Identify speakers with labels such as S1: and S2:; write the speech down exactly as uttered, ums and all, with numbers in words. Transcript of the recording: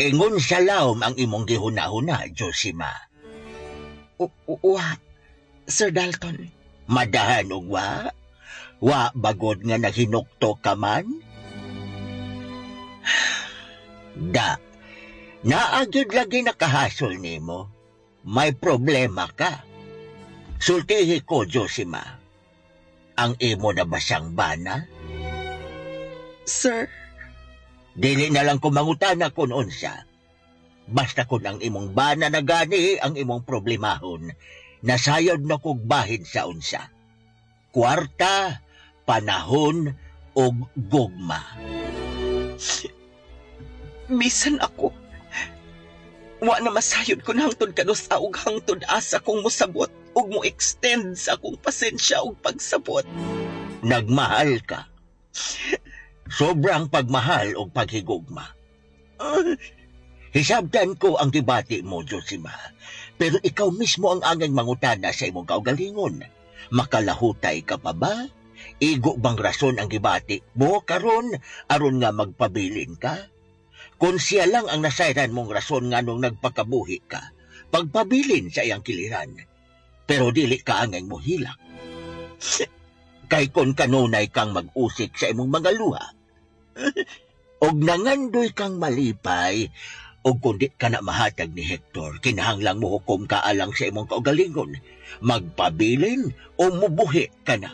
S1: Ingon sa lawom ang imong gihuna-huna, Josima.
S2: U- u- Wa, Sir Dalton.
S1: Madahan og wa? Wa bagod nga nahinukto ka man? Da. Naa gyud lagi nakahasol nimo. May problema ka. Sultihi ko, Josima. Ang imo na ba siyang bana?
S2: Sir,
S1: Dili na lang ko mangutana kung unsa. Basta kung ang imong bana na gani ang imong problemahon, nasayod na kog bahin sa unsa. Kwarta, panahon, ug gugma.
S2: Bisan ako. Wa na masayod kun hangtod kanus-a ug hangtod asa kong mosabot ug mo extend sa akong pasensya ug pagsabot.
S1: Nagmahal ka. Sobrang pagmahal ug paghigugma. Hisabtan ko ang gibati mo, Josima. Pero ikaw mismo ang angay mangutana sa imong kaugalingon. Makalahutay ka pa ba? Igo bang rason ang gibati mo karon aron nga magpabilin ka? Kung siya lang ang nasayran mong rason nganong nagpakabuhi ka, pagpabilin sa iyang kiliran. Pero dili ka angay mohilak. Kay kung kanunay kang mag-usik sa imong mga luha, og nangandoy kang malipay, og kung di ka na mahatag ni Hector, kinahanglang mohukom ka alang sa imong kaugalingon, magpabilin o mubuhi ka na.